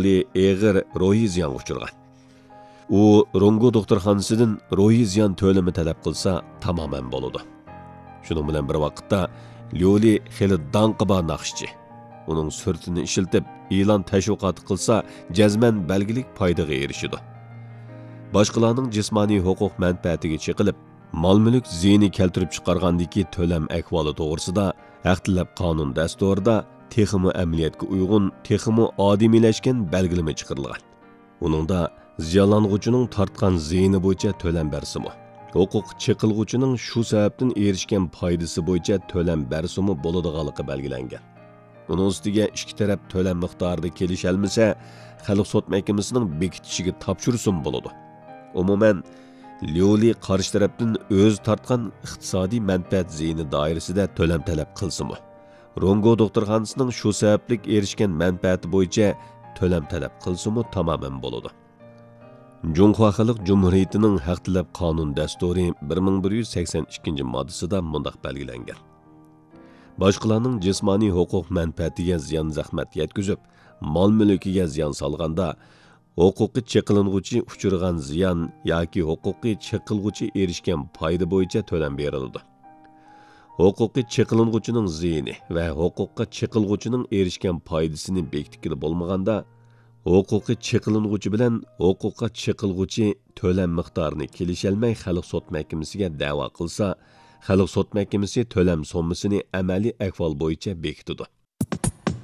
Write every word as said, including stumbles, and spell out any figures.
ليولى ئېغىر روھىي زىيانغا ئۇچرىغان. ئۇ رونگو دوختۇرخانىسىدىن روھىي زىيان تۆلىمى تەلەپ قىلسا تامامەن بولىدۇ. شۇنىڭ بىلەن بىر ۋاقىتتا، ليولى خېلى داڭقى بار ناخشىچى. ئۇنىڭ سۈرىتىنى ئىشلىتىپ، ئېلان تەشۋىقاتى قىلسا، جەزمەن بەلگىلىك پايدىغا ئېرىشىدۇ. باشقىلارنىڭ جىسمانىي ھوقۇق مەنپەئەتىگە چېقىلىپ، مال-مۈلۈك زىيىنى كەلتۈرۈپ چىقارغاندىكى تۆلەم ئەھۋالى توغرىسىدا ھەق تەلەپ قانۇن دەستۇرىدا تېخىمۇ ئەمەلىيەتكە ئۇيغۇن، تېخىمۇ ئادىمىيلەشكەن بەلگىلىمە چىقىرىلغان. ئۇنىڭدا زىيانلانغۇچىنىڭ تارتقان زىيىنى بويىچە تۆلەم بەرسىمۇ، ھوقۇق چېقىلغۇچىنىڭ شۇ سەۋەبتىن ئېرىشكەن پايدىسى بويىچە تۆلەم بەرسىمۇ بولىدىغانلىقى بەلگىلەنگەن. ئۇنىڭ ئۈستىگە ئىككى تەرەپ تۆلەم مىقدارىدا كېلىشەلمىسە، خەلق سوت مەھكىمىسىنىڭ بېكىتىشىگە تاپشۇرسىمۇ بولىدۇ. ئومۇمەن، ليۇلى قارشى تەرەپتىن ئۆزى تارتقان ئىقتىسادىي مەنپەئەت زىيىنى دائىرىسىدە تۆلەم تەلەپ قىلسىمۇ، رونگو دوختۇرخانىسىنىڭ شۇ سەۋەبلىك ئېرىشكەن مەنپەئەتى بويىچە تۆلەم تەلەپ قىلسىمۇ تامامەن بولىدۇ. جۇڭخۇا خەلق جۇمھۇرىيىتىنىڭ ھەق تەلەپ قانۇن دەستۇرى بىر مىڭ بىر يۈز سەكسەن ئىككىنچى ماددىسىدا مۇنداق بەلگىلەنگەن: باشقىلارنىڭ جىسمانىي ھوقۇق مەنپەئەتىگە زىيان زەخمەت يەتكۈزۈپ، مال-مۈلكىگە زىيان سالغاندا، ھوقۇقى چېقىلىنغۇچى ئۇچرىغان زىيان ياكى ھوقۇقى چېقىلغۇچى ئېرىشكەن پايدا بويىچە تۆلەم بېرىلىدۇ. ھوقۇقى چېقىلىنغۇچىنىڭ زىيىنى ۋە ھوقۇققا چېقىلغۇچىنىڭ ئېرىشكەن پايدىسىنى بېكىتكىلى بولمىغاندا، ھوقۇقى چېقىلىنغۇچى بىلەن ھوقۇققا چېقىلغۇچى تۆلەم مىقدارىنى كېلىشەلمەي خەلق سوت مەھكىمىسىگە دەۋا قىلسا، خەلق سوت مەھكىمىسى تۆلەم سوممىسىنى ئەمەلىي ئەھۋال بويىچە بېكىتىدۇ.